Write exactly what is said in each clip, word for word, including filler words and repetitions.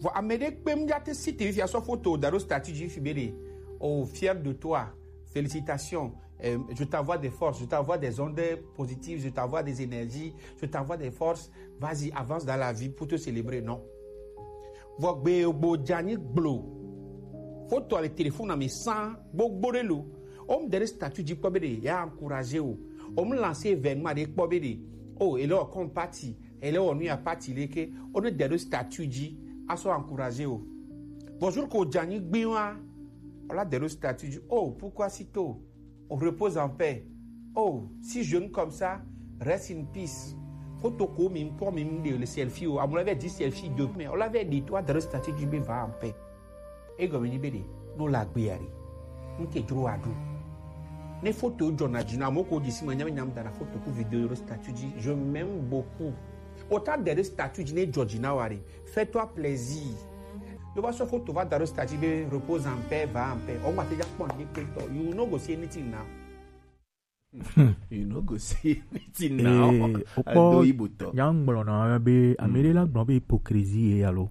Bon, amede kpem ja te si te fia so photo da ɖo statut ji fi be ɖe. Oh, fier de toi. Félicitations. Euh, je t'envoie des forces, je t'envoie des ondes positives, je t'envoie des énergies, je t'envoie des forces. Vas-y, avance dans la vie pour te célébrer. Non. Vɔ gbe gbo dza nyi gblo. Foto le téléphone na mi san gbogbo ɖe lo. O mu de ɖe statut ji kpɔ be ɖe ya encourager o. O mu lancer événement ɖe kpɔ be ɖe. Oh, ele wɔ comme party, ele wɔ nu ya party le ke. O ne de ɖe statut ji a so encourager o. Bonjour ko dza nyi gbi wa. O la de ɖe statut ji. Oh, pourquoi si tôt? On repose en paix. Oh, si jeune comme ça, reste in peace. Foto ko mi kpɔ mi de le selfie o. Amu la vɛ di selfie de mais o la vɛ di toi de statut ji be va en paix. E gɔme ni be de no la gbe ya ri. Nke dro adu. Ne foto jɔ na dzi na mo ko di si ma nyam nyam da na foto ku vidéo ro statut ji. Je m'aime beaucoup. Autant de statut ji ne jɔ dzi na wa ri. Fais-toi plaisir. Yo va so foto va da ɖo statut be repose en paix, va en paix. O ma te ja kpɔ ni pe to. You no go see anything now. You no go see anything now. Eh, okpɔ nya ŋgblɔ na be ame ɖe la gblɔ be hypocrisie ye alo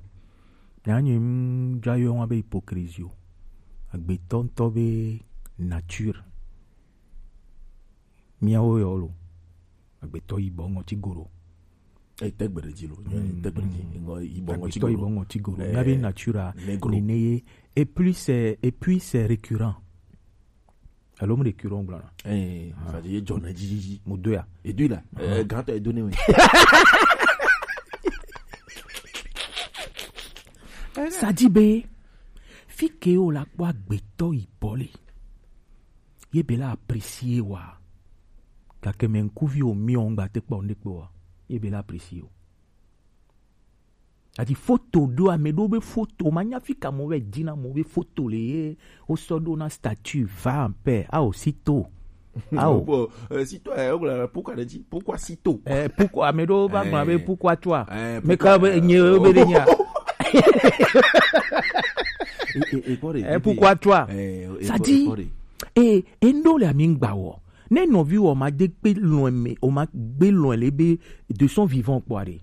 nya nye ŋdza yɔ ŋa be hypocrisie o. Agbetɔ ŋutɔ be nature. Miawo yɔ lo. Agbetɔ yibɔ ŋɔti goro. Etegbe ɖe dzi lo. Etegbe ɖe dzi. Ŋɔ yibɔ ŋɔti goro. Agbetɔ yibɔ ŋɔti goro. Miabe nature nene ye. Et puis c'est et puis c'est récurrent. Alo mu récurrent gblɔna. Eh, ça dit jɔ na dzi dzi. Mu do ya. Et puis là, euh, grand est donné oui. Ça dit be fi ke o la kpɔ agbetɔ yibɔ le. Ye be la apprécier wa. Gake mɛ ŋkuvi o mi o ŋgba te kpɔ ne kpɔ wa. Ye be la apprécier o. Ati foto ɖo ame ɖo be foto ma nya fi ka mo be dina mo be foto le ye o sɔ ɖo na statut va en paix a o si to. Ah, oh. Bon, euh, si toi, euh, pourquoi, pourquoi si tôt? Eh, pourquoi mais do ba ma be pourquoi toi? Mais quand be nye be de nya. Et pourquoi toi? Ça dit et et ndo le ami ngba wo. Ne nɔvi wo ma de pe loin me o ma gbe loin le be de son vivant quoi re.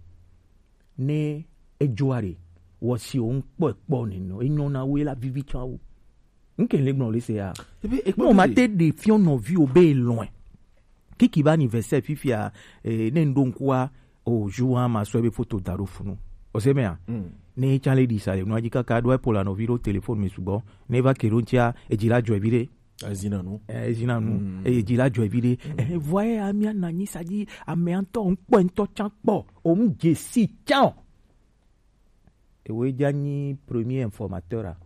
Ne ejoa re. Wo si o nkpɔ ekpɔ ne no. Enyo na we la vivi tsa wo. Nke le gblɔ le se ya. Mo ma te de fiɔ nɔvi o be loin. Kiki ba anniversaire fifia eh, ne ndo nkua o jour a ma so be foto da ɖo funu. O se me a. Ne tsa le di sa le no aji kaka do e pola nɔvi ɖo téléphone me sugbɔ. Ne va ke ɖo ntsia e dzi la jɔ evi ɖe. Ezina nu. Eh, ezina nu. Mm. Eye dzi la jɔ evi ɖe. Eh, vɔa ye amia na nyi sa dzi ame ŋutɔ ŋkpɔ ŋutɔ tsa kpɔ. O mu dze si tsa o. Ewoe dza nyi premier informateur a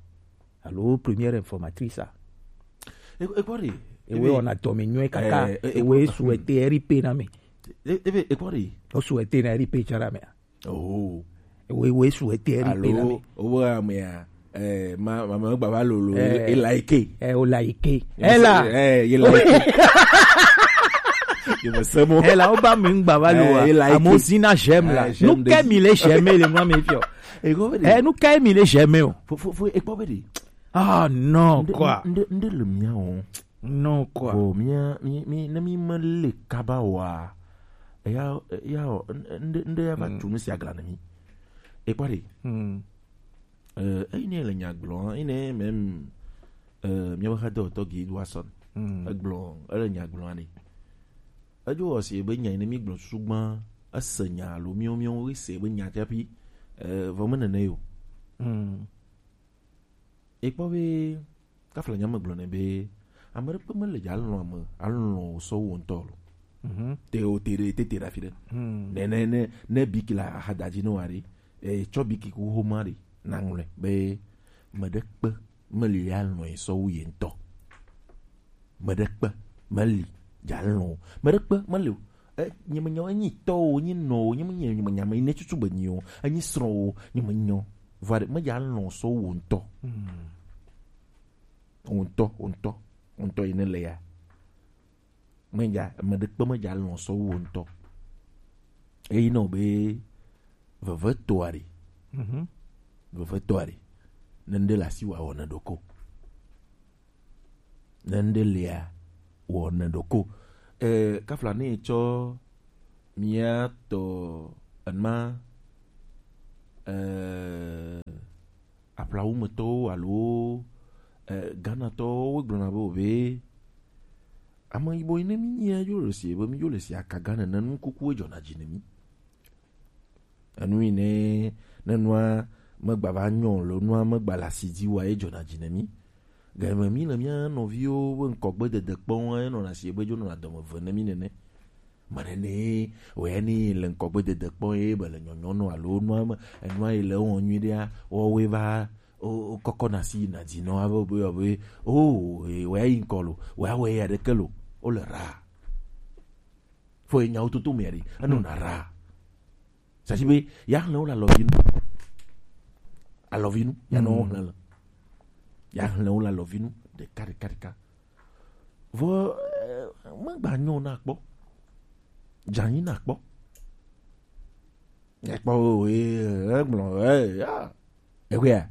alo première informatrice a. Ekpɔ ɖe. Ewoe wɔna dɔme nyuie kaka. Ewoe souhaiter R I P na mi. Ebe ekpɔ ɖe. O souhaiter na R I P tsa na mi. Oh. Ewoe ewoe souhaiter R I P na mi. Alo o bo amea. Eh, ma ma ma gba va lolo. Eh, e like. Eh, o like. Ela. Eh, ye like. Ye me semo. Ela o ba mi ngba va lo. Eh, like. Amo sina j'aime la. Eh, j'aime. Nu ke mi le j'aime le mo mi fio. E go be. Eh, nu ke mi le j'aime o. Fo fo fo e kpɔ be de. Ah non quoi. Nde nde le mia o. Non quoi. Bon, mia mi mi ne mi me le kaba wa. Eya eya nde nde ya va tu nu sia gla na mi. E kpɔ de. Hmm. Euh, eyi ne le nya gblɔ, eyi ne même euh, míaƒe xadɔwɔtɔ Guy Edwardson. Mm. Egblɔ, ele nya gblɔ ne. Edzo wɔ si be nya yi ne mi gblɔ susu gbã, ese nya alo miwo miwo ese be nya tsapi, euh, vɔ me nene yo. Mm. Ekpɔ be kafla nya me gblɔ ne be ame ɖe kpe mele dza alɔ̃ ame alɔ̃ sɔ wo ŋutɔ lo. Mhm. Te o te ɖe te te ɖe afi ɖe. Mm. Ne ne ne ne bi kila ahadadzi ne wa ɖe. Etsɔ biki ku xoma ɖe naŋlɔe be meɖe kpe meli alɔ̃e sɔ wu ye ŋutɔ. Meɖe kpe meli dza lɔ̃ o. Meɖe kpe meli o. E, nye menya o, enyi tɔ o, enyi nɔ o, nye menye nye menya me ne tutu be nyi o, enyi srɔ̃ o, nye menya o. Vɔ ɖe medza lɔ̃ sɔ wu wo ŋutɔ. Wo ŋutɔ, wo ŋutɔ, wo ŋutɔ yi ne le ya. Medza, meɖe kpe medza lɔ̃ sɔ wu wo ŋutɔ. Eyi nɔ be veve to aɖe. Mhm. Veve to aɖe. Ne ŋɖe le asi wa wɔ ne ɖoko. Ne ŋɖe lia wɔ ne ɖoko. Eh, kafla ne tsɔ mía tɔ enma, eh, Aƒlawu me tɔwo alo eh, Ghana tɔwo wo gblɔna be o be ame yibɔ yi ne mi nyia yo le si be mi yo le si akaga nene nukuku edzɔna dzi ne mi. Enu yi ne ne nua megba va nyɔ lo nua megba le asi dzi wa ye dzɔna dzi ne mi. Gɛmɛ mi le mía nɔviwo be ŋkɔgbe dede kpɔm enɔna si be dzo nɔna dɔme ve ne mi nene. Mane ne wòe ne le ŋkɔgbe dede kpɔ ye be le nyɔnyɔ nɔ alo nua me enua yi le wɔn nyui ɖea wɔwoe va o kɔkɔ na si na dzi nɔ ave be yɔ be o wòe yi ŋkɔ lo wòe awɔ ya ɖeke lo o le ra fo ye nyawo toto me ɖi eno na ra sasi be ya hlẽ wo le alɔvinu alɔvinu ya nɔ wo hlẽ le ya hlẽ wo le alɔvinu ɖeka ɖeka ɖeka vɔ eh, megba nyɔ na kpɔ dzanyi na kpɔ ekpɔ wo ye egblɔ eh ya ewea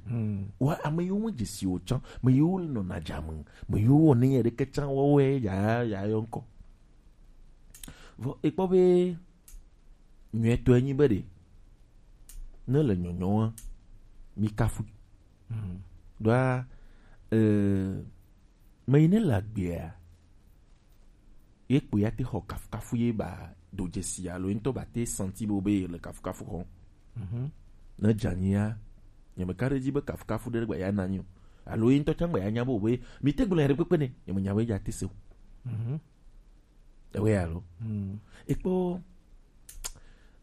wa ame yiwo me dzesi o tsã me yiwo nɔ na dza me me yiwo wɔ ne yɛ ɖeke tsã wɔwɛ ya ya yɔ ŋkɔ vɔ ekpɔ be nyuitɔe nyi be ɖe ne le nyɔnyɔa mi kafu ɖoa eh, me yi ne le agbea ye kpo ya te xɔ kafukafu ye ba do dzesi alo ye ŋutɔ ba te santi bo be le kafukafu xɔ ne dzanyia nyemeka ɖe dzi be kafukafu ɖe gba ya na nyi o alo ye ŋutɔ tsã gba ya nya bo be mi te gblɔ ya ɖe kpekpe ne nyemenya be ya te se o ewe alo ekpɔ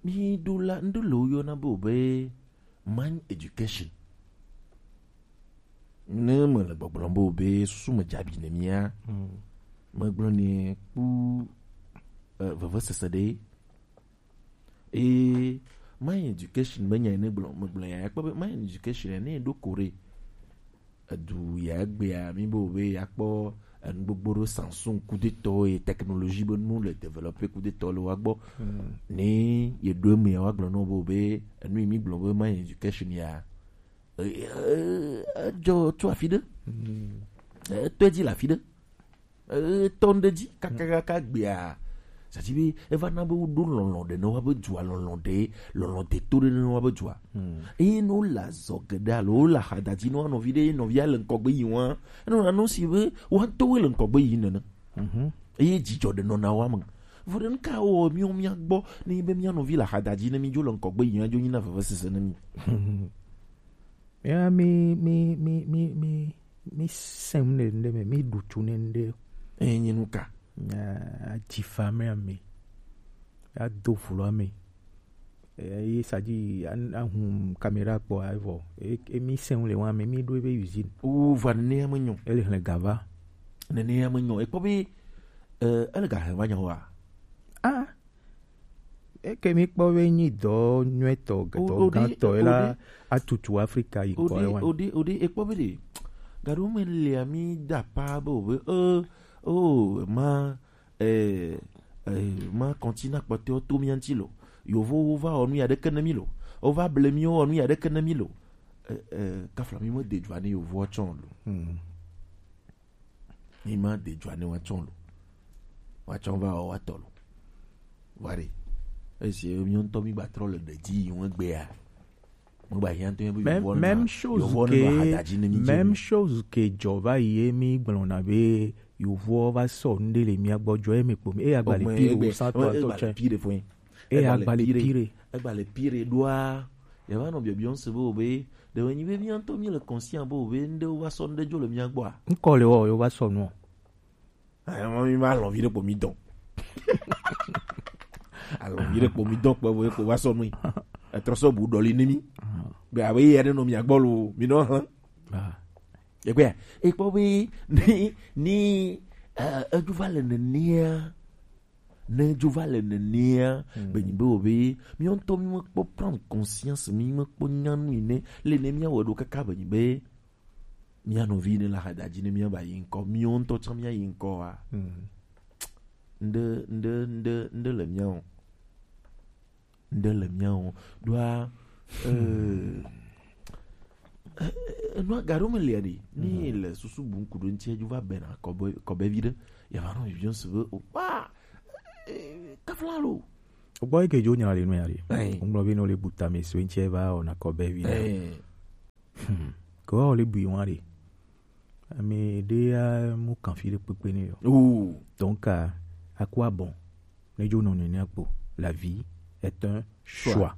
mi ɖo la ŋɖo le wo yɔna be o be man education ne me le gbɔgblɔm be o be susu me dzabi ne mia megblɔ ne kpu eh, vevesese ɖe eye my education be nya ne gblɔ megblɔ ya kpɔ be my education ne ɖo kore edu ya egbea mi bo be ya kpɔ enu gbogbo ɖo Samsung kudetɔ ye technologie be nu le développer kudetɔ le wa gbɔ ne ye ɖo eme ya wa gblɔ nɔ bo be enu yi mi gblɔ be my education ya edzɔ tso afi ɖe etɔe dzi le afi ɖe etɔ ŋɖe dzi kakakaka gbea sati be eva na be woɖo lɔlɔ̃ ɖe ne woabe dua lɔlɔ̃ ɖe lɔlɔ̃ de to ɖe ne woabe dua eye ne wole azɔ geɖe alo wole ahadadzi ne woanɔvi ɖe ye nɔvia le ŋkɔgbe yi wa enɔna nu si be woatɔwoe le ŋkɔgbe yi nene eye dzidzɔ ɖe nɔna woa me vɔ ɖe nuka wɔ míwo mía gbɔ ne yi be mía nɔvi le ahadadzi ne mídzo le ŋkɔgbe yi adzo nyina vevesese ne mí Ya mi mi mi mi mi mi sɛm ne nde me mi ɖu tsu ne nde. Enyi nuka? Adzi fa me ame. Ado vlo ame. Eye sadzi ahun kamera kpɔ evɔ. Emi sɛn le wa me mi ɖo ebe usine. Wo va nene ame nyɔ. Ele hlẽ gava. Nene ame nyɔ. Ekpɔ be ele ga hlẽ va nyɔ wa. Ah. Eke mi kpɔ be nyi dɔ nyuɛtɔ dɔ gãtɔ la atutu Afrika yi kɔ wa. Ode ode ekpɔ be de. Gaɖo me lia mi da pa be o be e o ma eh, eh, ma kɔntina kpɔtɔewo to mía ŋuti lo. Yovowo va wɔ nu ya ɖeke ne mí lo. Wova ble mí wɔ nu ya ɖeke ne mí lo. Eh, eh, kafla mí me de dzoa ne yovowo tsɔ lo. Hmm. Mí ma de dzoa ne wa tsɔ lo. Wa tsɔ va wɔ wa tɔ lo. Wa ɖe. Esi mí ŋutɔ mí gba trɔ le ɖe dzi yi ŋu egbea. Même chose que même chose que dzɔ va yi ye mi gblɔna be yovoɔ va sɔ nu ɖe le mía gbɔ dzɔ eme kpo mi eya gba le pire o sa tɔ atɔ tsɛ eya gba le pire. Egba le pire ɖoa yava nɔ biɔbiɔ ŋse be o be ɖe wònyi be mía ŋutɔ mí le conscient be o be ŋɖewo va sɔ nu ɖe dzo le mía gbɔa. Ŋkɔ le wɔ yo va sɔ nuɔ. Ayɔmɔ mi ma alɔvi ɖe kpo mi dɔn. Alɔvi ɖe kpo mi dɔn kpɔ bo ekpo va sɔ nui. Etrɔ sɔ bu ɖɔli ne mi. Be abe ye ɖe nɔ mia gbɔ lo mi nɔ hlẽ. Egbea ekpɔ be ni ni edzo va le nenea ne edzo va le nenea be nyi be o be mi ŋutɔ mi mekpɔ prendre conscience mi mekpɔ nyanu yi ne le ne mia wɔ ɖo kaka be nyi be mía nɔvi ne le ahadadzi ne mía ba yi ŋkɔ míwo ŋutɔ tsã mía yi ŋkɔ wa ŋɖe ŋɖe ŋɖe ŋɖe le mía o ŋɖe le mía o ɖoa enua gaɖo me lia ɖi ni le susu bu ŋku ɖo ŋtsi edzo va bena kɔbe kɔbevi ɖe yava nɔ viviɔ si be o pa kafla lo. Gbɔ yi ke dzo nya le nu ya ɖi ŋgblɔ be ne wole bu tame so ŋtsi eva wɔna kɔbevi ɖe. Ke woawɔ le bui wan ɖe. Ame ɖe ya mu kan fi ɖe kpekpe nɛ o. Oh. Donc, euh, à quoi bon? Ne dzo nɔ nene kpo. La vie est un choix.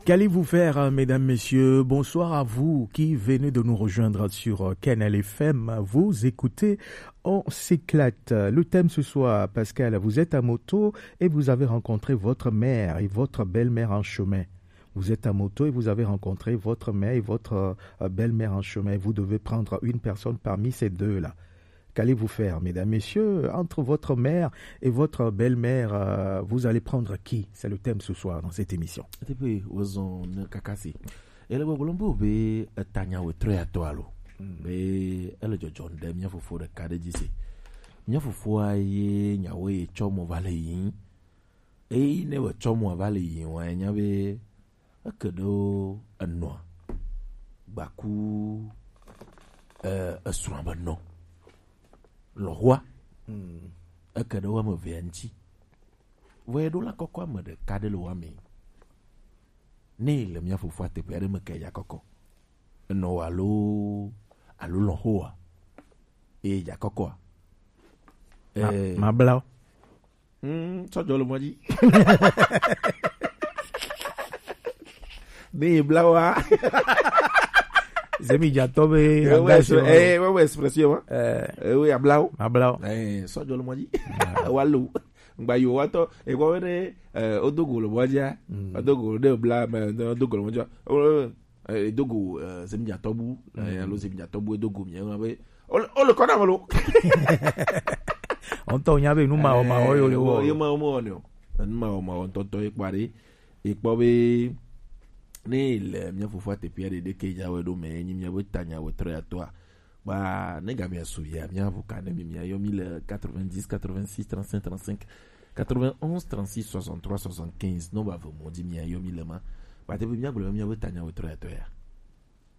Qu'allez-vous faire, euh, mesdames, messieurs? Bonsoir à vous qui venez de nous rejoindre sur, euh, Kanal F M. Vous écoutez On s'éclate. Le thème ce soir, Pascal, vous êtes à moto et vous avez rencontré votre mère et votre belle-mère en chemin. Vous êtes à moto et vous avez rencontré votre mère et votre, euh, belle-mère en chemin. Vous devez prendre une personne parmi ces deux-là. Qu'allez-vous faire, mesdames, messieurs? Entre votre mère et votre belle-mère, euh, vous allez prendre qui? C'est le thème ce soir dans cette émission. Ete pe wozɔn ne kakasi. Ele gbɔgblɔm be wobe etanya wetrɔ ya tɔ alo. Mm. Be ele dzɔdzɔm ɖe mía fofo ɖeka ɖe dzi se. Mía fofoa ye nyawo ye tsɔ mo va le yiyim. Eyi ne wòtsɔ mo va le yiyim wa, enya be eke ɖewo enɔa gbaku, eh, esrɔ̃a be nɔ. Lɔ̃xoa. Mm. Eke ɖe wo ame evea ŋuti. Vɔ ye ɖo la kɔkɔ ame ɖeka ɖe le wo ame. Ne le mía fofoa teƒe aɖe me ke ya kɔkɔ. Enɔ wo alo, alo lɔ̃xo wa. Eye ya kɔkɔa. Ma-, eh, mabla wo. Mm, sɔjɔ le mɔ dzi. Ne ye bla wa. Zemi dzatɔ be. Eh, we express-, eh, we, we expression ma. Eh. Eh, we abla wo. Abla wo. Eh, sɔjɔ le mɔ dzi. Ah. Wa lo. Ngba yo wa tɔ. E kɔ be ne, eh, o do go le mɔ dzia. Mm. O do go le bla, me, o do go le mɔ dzia. O, eh, e do go, eh, Zemi dzatɔ bu, eh, alo Zemi dzatɔ bu e do go mi, eh, be. O le, o le kɔ na me lo. Ŋutɔ nya be nu ma o ma o yo le wo. Ye ma o ma o ne o. Nu ma o ma o ŋutɔŋutɔ ye kpɔ ɖe. Ye kpɔ be ne le mía fofoa teƒe ɖe ɖe ke dza wɔ ɖo me, enyi mía be tanya wɔ trɔ ya tɔa. Ba ne ga mía su ya, mía vo ka ne mi mía yɔ mi le quatre-vingt-dix, quatre-vingt-six, trente-cinq, trente-cinq, quatre-vingt-onze, trente-six, soixante-trois, soixante-quinze. No ba vo mo di mía yɔ mi le ma. Ba te be mía gblɔ mía be tanya wɔ trɔ ya tɔ ya.